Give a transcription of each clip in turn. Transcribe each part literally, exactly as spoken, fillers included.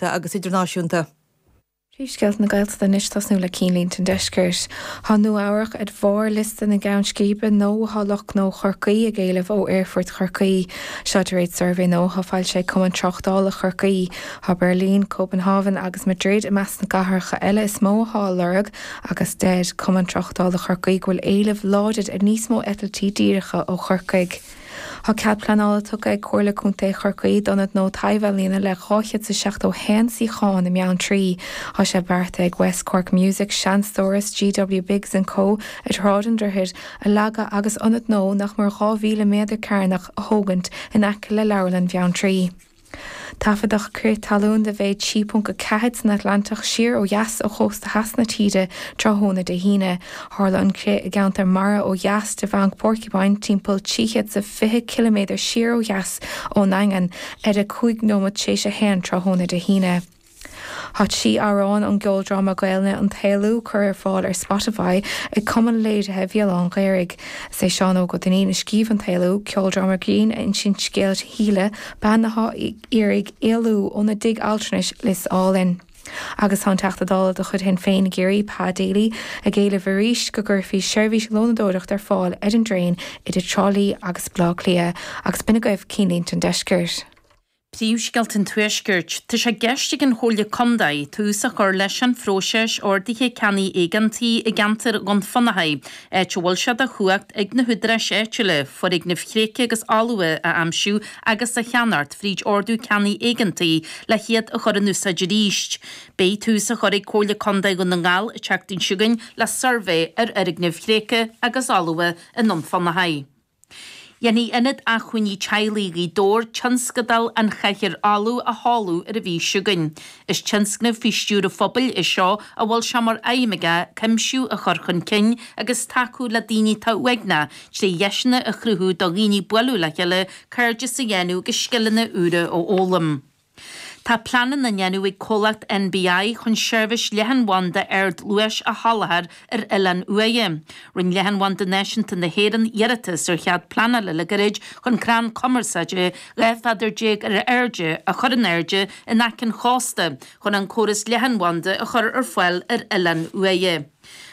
agus idirnáisiúnta. Príomhscéalta na Gaeltachta anois tosnú le cinnlínte an deiscirt. Tá Nua-Eabhrac ar bharr liosta na gceann scríbe nua atá lucht gnó Chorcaí ag éileamh ó Aerfort Chorcaí. Seo de réir suirbhé nua atá foilsithe ag Cumann Tráchtála Chorcaí. Tá Beirlín, Copenhagen agus Madrid i measc na gcathracha eile is mó atá á lorg agus deir Cumann Tráchtála Chorcaí go bhfuil éileamh láidir ar níos mó eitiltí díreacha ó Chorcaigh. Tá cead pleanála tugtha ag Comhairle Contae Chorcaí d'ionad nua taibh-ealaíona le dhá chéad is seachtó haon suíochán i mBeanntraí. Tá sé beartaithe ag West Cork Music, Seanstóras, GW Biggs and Co ar Shráid an Droichid a leagadh agus ionad nua nach mór dhá mhíle méadar cearnach a thógaint in aice le Leabharlann Bheanntraí. Taifeadadh crith talún de mhéid trí ponc a ceathair san Atlantach siar ó dheas ó chósta theas na tíre tráthnóna Dé hAoine. Tharla an crith i gceantar mara ó dheas de Bhanc Porcupine timpeall trí chéad is fiche ciliméadar siar ó dheas ón nDaingean ar a cúig nóiméad tar éis a haon tráthnóna Dé hAoine. Tá trí amhrán ón gceoldráma Gaelainne An tÉalú curtha ar fáil ar Spotify ag Cumann Léirithe Bhéal Átha an Ghaorthaidh. Is é Seán Óg Ó Duinnín a scríobh An tÉalú, ceoldráma grinn a insíonn scéal Shíle, bean atá ag iarraidh éalú óna dtigh altranais Lios Álainn. Agus tá an Teachta Dála de chuid Shinn Féin i gCiarraí, Pa Daly, ag éileamh arís go gcuirfí seirbhís lónadóireachta ar fáil ar an dtraein idir Trá Lí agus Baile Átha Cliath. Agus b'in agaibh cinnlínte an deiscirt. Príomhscéalta an Tuaiscirt. Tá sé i gceist ag an Chomhairle Contae tús a chur leis an phróiseas ordaithe ceannaigh éigeantaigh i gceantar Dhún Fionnachaidh, áit a bhfuil sé de chumhacht ag na húdaráis áitiúla foirgnimh thréigthe agus fholmha a aimsiú agus a cheannacht fríd ordú ceannaigh éigeantaigh le hiad a chur in úsáid arís. Beidh tús á chur ag Comhairle Contae Dhún na nGall an tseachtain seo chugainn le suirbhé ar fhoirgnimh thréigthe agus fholmha i nDún Fionnachaidh. Dhéanfaidh Ionad Acmhainní Teaghlaigh Ghaoth Dobhair tionscadal An Chathaoir Fholamh a sheoladh ar an mhí seo chugainn. Is tionscnamh faoi stiúir an phobail é seo a bhfuil sé mar aidhm aige cuimsiú a chur chun cinn agus tacú le daoine atá uaigneach trí dheiseanna a chruthú do dhaoine bualadh le chéile, cairdeas a dhéanamh agus scileanna úra a fhoghlaim. Tá pleananna á ndéanamh ag comhlacht NBI chun seirbhís leathanbhanda ardluais a sholáthar ar Oileán Uaighe. Rinne Leathanbhanda Náisiúnta na hÉireann iarratas ar chead pleanála le gairid chun crann cumarsáide dhá mhéadar déag ar airde a chur in airde in aice an chósta chun an córas leathanbhanda a chur ar fáil ar Oileán Uaighe.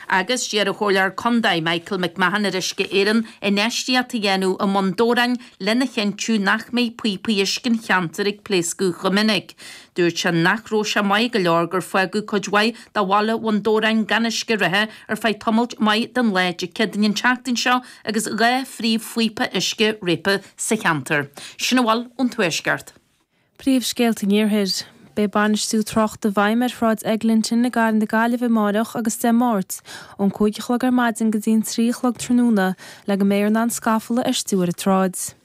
Agus d'iarr an Comhairleoir Contae Michael McMahon ar Uisce Éireann infheistíocht a dhéanamh i mBun Dobhráin lena chinntiú nach mbeidh píopaí uisce an cheantair ag pléascadh chomh minic. Dúirt sé nach raibh sé maith go leor gur fágadh cuid mhaith de bhaile Bhun Dobhráin gan uisce reatha ar feadh tamaill mhaith den lá Dé Céadaoin an tseachtain seo agus dhá phríomhphíopa uisce réabtha sa cheantar. Sin a bhfuil ón Tuaisceart. Príomhscéalta an Iarthair. Beidh bainistiú tráchta i bhfeidhm ar Shráid Eglinton i gCathair na Gaillimhe amáireach agus Dé Máirt, ón cúig a chlog ar maidin go dtí an trí a chlog tráthnóna le go mbeifear in ann scafall a fheistiú ar an tsráid.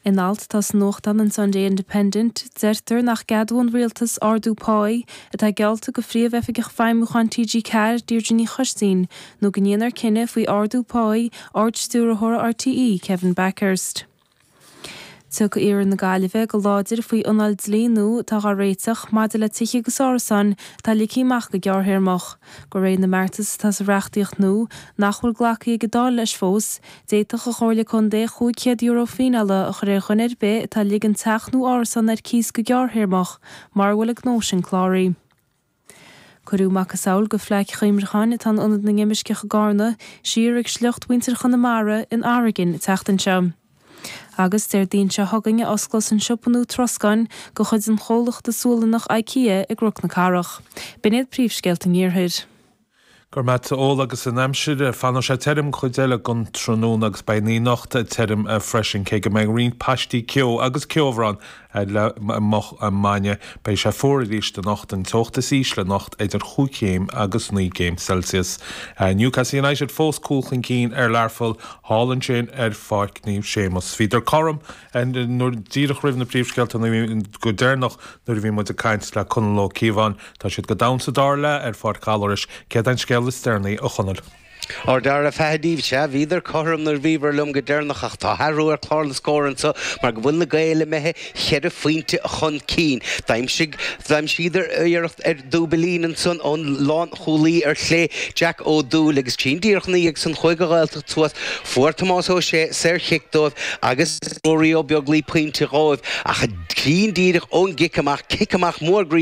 In alt atá sa nuachtán an Sunday Independent, deirtear nach gceadóidh an rialtas ardú páí atá geallta do Phríomh-Oifigeach Feidhmiúcháin TG Ceathair, Deirdre Ní Choistín, nó go ndéanfar cinneadh faoi ardú páí Ard-Stiúrthóra RTÉ, Kevin Bakhurst. Tiocfaidh Iarthar na Gaillimhe go láidir faoi anáil dlí nua atá á réiteach maidir le tithe agus árasáin atá ligthe amach go gearrthéarmach. De réir na mbeartas atá sa reachtaíocht nua, nach bhfuil glactha ag an Dáil leis fós, d'fhéadfadh an Chomhairle Contae chúig chéad euro fíneála a chur ar dhuine ar bith atá ag ligean teach nó árasán ar cíos go gearrthéarmach mura bhfuil an gnó sin cláraithe. Cuireadh macasamhail de phlaic chuimhneacháin atá in Ionad na nImirceach i gCarna siar ag sliocht mhuintir Chonamara in Oregon an tseachtain seo. Agus Déardaoin seo chugainn a osclós an siopa nua troscáin de chuid an chomhlachta Sualannach IKEA i gCnoc na Cathrach. B'in iad príomhscéalta an Iarthair. Go raibh maith agat Ola agus an aimsir fanfaidh sé tirim chuid eile den tráthnóna agus beidh an anocht tirim freisin cé go mbeidh roinnt paistí ceo agus ceobhrán le moch maidne. Beidh sé fuar arís anocht an teocht is ísle anocht idir chúig chéim agus naoi gcéim Celsius. Newcastle United fós cúl chun cinn ar Learpholl thall ansin ar Pháirc Naomh Séamus. Bhíodar cothrom nuair díreach roimh na príomhscéalta go deireanach nuair a bhí muid ag caint le Conall Ó Cíobháin, Tá siad go domhan sa dara leath ar Pháirc Ghallarais, céard an scéal is deireanaí a Chonaill. Ardara fedaíh se bhíidir chothrom na bhíhar liom go deireanach ach tá athrú ar chlár na scór anseo mar go bhfuil na Gaeil imithe cheithre phointe chun cinn. D'aimsigh d'aimsíodar iarracht ar dúbailín ansan ón lánchúlaí ar chlé Jack Ó Dúill agus tinn díreach ina dhiaidh san chuaigh an Ghaeltacht suas fuair Tomás Ó Sé saorchic dóibh agus Ruairí Ó Beaglaoi pointe dhóibh ach tinn díreach ón gcic amach cic amach mór